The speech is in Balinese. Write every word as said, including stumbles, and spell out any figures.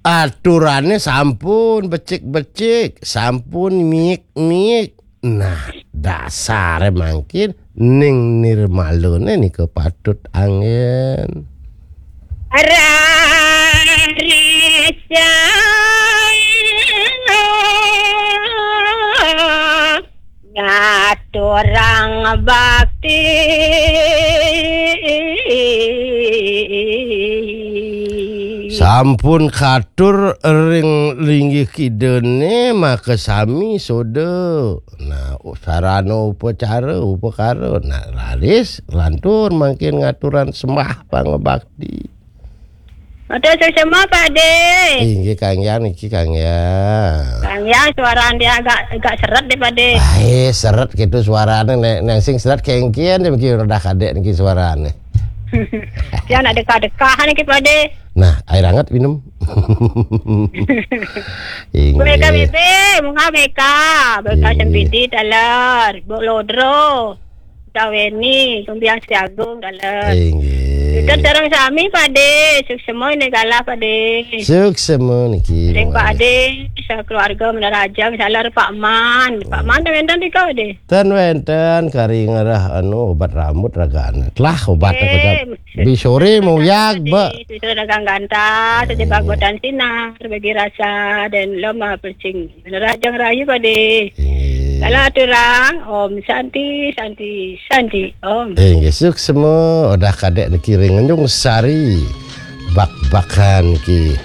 Aturane sampun becik-becik, sampun miik-miik. Nah, dasare mangkin ning nirmalane nika patut anggen. Raris ngaturang bakti. Sampun katur ring linggih kidane, maka sami soda. Nah, sarana upacara, upakara. Nah, raris lantur mangkin ngaturan sembah pangabakti. Matur suksma, Pak De. Inggih, Kang Yang niki, Kang Yang. Kang Yang, suarane agak, agak seret deh, Pak De. Ai, seret gitu suarane, nek, nek sing seret kengkian deh, mungkin udah kadek niki suarane. Dia nak dekah-dekah niki, Pak De. Nah, air hangat minum. Inggih. Beka bebe, munga beka. Beka Inggih. Sempidi taler, Bok Lodro. Kaweni, Sumbiang Siagung, dalam. Inggih. Kita sareng sami, Pak De. Suksma ini galah, Pak De. Suksma niki, Ring Pak Ade, sekeluarga Menara Ajang, salah Pak Man. Pak Man, wenten tiga, Pak De. Ten wenten, kari ngerah, anu, obat rambut ragane. Telah obat Eh, aku, Bi sore mau yag, Pak De. Mbak. Sudah dagang ganta, sejebak Eh. Bodan sinar, bagi rasa dan lama percing. Menara Ajang Rayu, Pak De. Inggih. Kalau aturang, Om Santi, Santi, Santi, Om. Inggih, suksma, udah kadek niki ring Tanjung Sari. Bak-bakan ki.